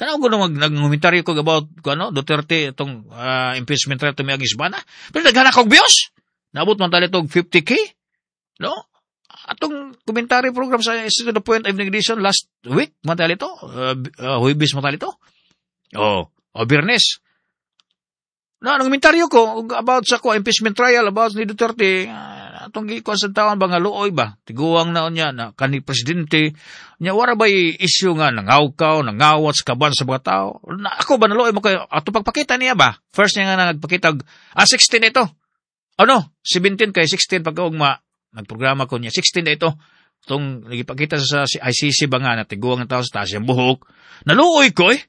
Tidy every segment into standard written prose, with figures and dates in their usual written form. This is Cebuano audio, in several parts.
Kanaw ko nung nag-komentaryo ko about ano, Duterte itong impeachment trial itong miagis ba na? Pero naghanak og views. Naabot man tali itong 50K. No? Atong commentary program sa to the Point Evening Edition last week, man tali ito. Huwebes man tali ito. Oh, o Biyernes. No, ang komentaryo ko about sa ko impeachment trial about ni Duterte, atong gikuan sa tawan ba nga luoy ba? Tiguang na niya na kani presidente niya wara ba issue nga nangawkaw, nangawat sa kaban sa mga tao. Na, ako ba naluoy mo kayo ato pagpakita niya ba? First niya nga nagpakita 16 ito. Ano? 17 kay 16 pagkaugma nagprograma ko niya 16 na ito. Itong nagipakita sa si ICC ba nga na tiguang ng tao sa taas yung buhok. Naluoy ko eh.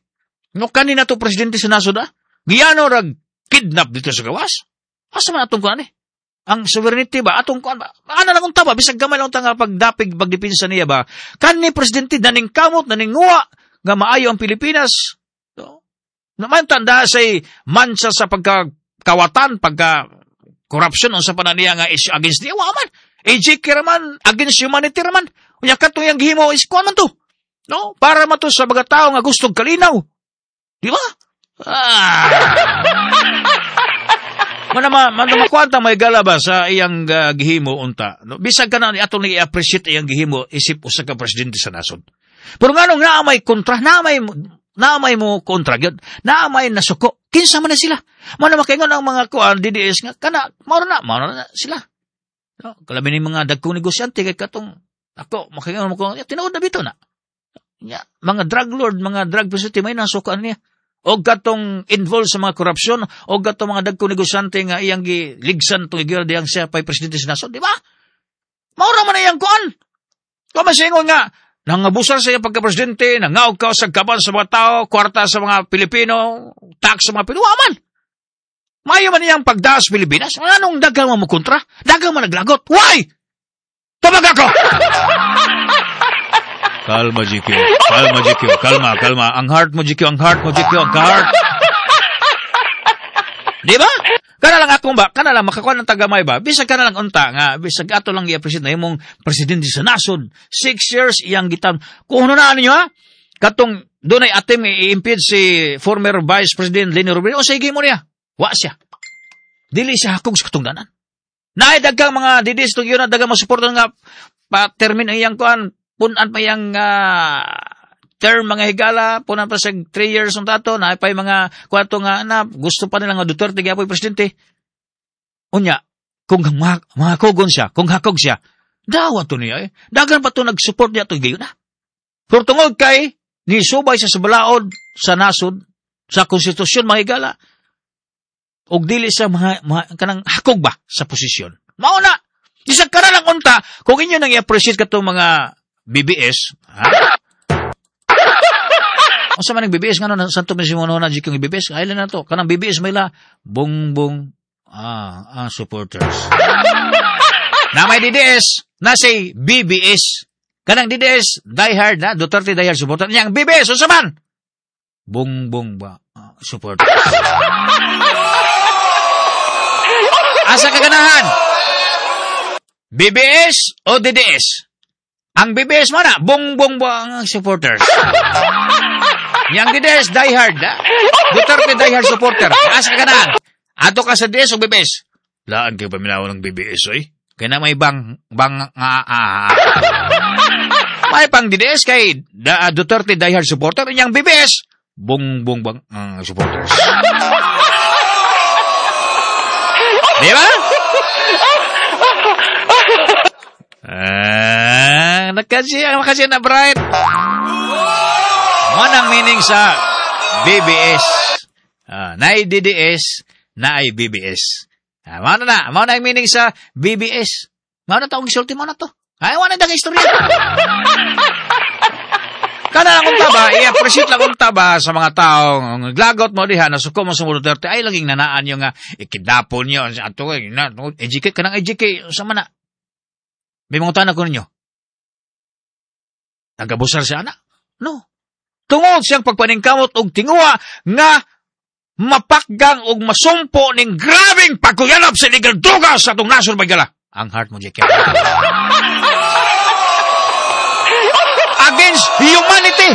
No kanina to presidente sa nasod ah. Giyano rag kidnap dito sa gawas. Asa man atong kuan eh? Ang sovereignty ba? Atong kuan ba? Ana lang unta ba? Bisag gamay lang unta nga pagdapig, pagdepensa niya ba? Kanni presidente naningkamot, naninguwa nga maayo ang Pilipinas. No? Naman tanda say mansa sa pagkakawatan, pagka corruption unsa pa na niya nga issue against niya. Wa man. AJK raman, against humanity raman. Unya katong iyang gihimo is kuan man to. No? Para man to sa mga tao nga gustong kalinaw. Di ba? Ah. Mana makuanta may gala ba sa iyang gihimo unta. No, bisag ka na atong i-appreciate iyang gihimo isip usa ka presidente sa nasod. Pero nganong naa may kontra, naa may mo kontra gyud, naa may nasuko. Kinsa man na sila? Mao na makaingon ang mga kuan DDS nga kana mao na sila. No, kalabi ni mga dagkong negosyante kay katong ako makaingon mo ko tinuod na bito na. Ya, mga drug lord, mga drug presidente may nasukaan niya o katong involved sa mga korupsyon o katong mga dagkong negosyante nga iyang giligsan tong igil diyang siya pa'y presidente sa nasod, di ba? Mao ra man iyang kuan. Kung masingon nga, nangabusar sa iyang pagka-presidente, nangaog ka sa kaban sa mga tao, kwarta sa mga Pilipino, tax sa mga Pilipino, wa man. Mayo man iyang pagdaas Pilipinas. Anong daghang mo kontra? Daghang man naglagot. Why? Tumag ako! Kalma, GQ. Kalma, GQ. Kalma, kalma. Ang heart mo, GQ. Ang heart mo, GQ. Ang heart. Di ba? Kana lang akong ba, kana lang makakuha ng tagamay ba, bisag kana lang unta nga, bisag ato lang i-appreciate na imong presidente sa nasod. 6 years iyang gitam. Kung ano na ninyo ha, katong doon ay atim i-impeach si former Vice President Leni Robredo, o sige mo niya. Wa siya. Dili siya hakog sa katungdanan. Naay daghang mga DDS tong yun na daghang masuporta nga pa termin ang iyang kuan, punan pa iyang term mga higala, punan pa sa 3 years ang tato, na pa mga kwarto nga na gusto pa nila nga Duterte gyapoy presidente. Unya, kung mga kugon siya, kung hakog siya, dawa to niya eh. Dagan pa to nag-support niya to gayon na. Pero tungod kay ni subay sa balaod sa nasod sa konstitusyon mga higala, og dili sa mga kanang hakog ba sa posisyon. Mao na. Bisag ka na lang unta, kung inyo nang i-appreciate katong mga BBS, ha? Unsa man ang BBS ngano santo man si mo na yung BBS? Ay na to. Kanang BBS may la bongbong supporters. Na may DDS, na say BBS. Kanang DDS, die hard na, Duterte die hard supporter. Niyang BBS, unsa man? Bongbong ba supporters. Asa ka ganahan? BBS o DDS? Ang BBS mo na, bongbong ba ang supporters? Yang DDS, die hard, ha? Duterte die hard supporter. Asa ka ganahan? Ato ka sa DDS o BBS? Laan kayo paminaw ng BBS, oy. Kaya na may bang, bang, ah. May pang DDS kay Duterte die hard supporter. Yang BBS, bongbong bang supporters. Di ba? Ah, nakasi na bright. Manang meaning sa BBS. Ah, naay DDS, naay BBS. Ah, mao na ang meaning sa BBS. Mao na taong gisulti mo na to. Ay, wala na istorya. Kana lang unta ba, i-appreciate lang unta ba sa mga taong naglagot mo diha, nasuko mo sa Duterte, ay laging nanaan yung nga, ikidnapon niyo, ato, na, EJK, kanang EJK, sa mana. May mga tanan ko ninyo. Nagabusar siya, ana? No. Tungod siyang pagpaningkamot og tinguha nga mapakgang og masumpo ning grabeng pagkuyanap sa illegal droga sa atong nasod magala. Ang heart mo, JK. Against humanity.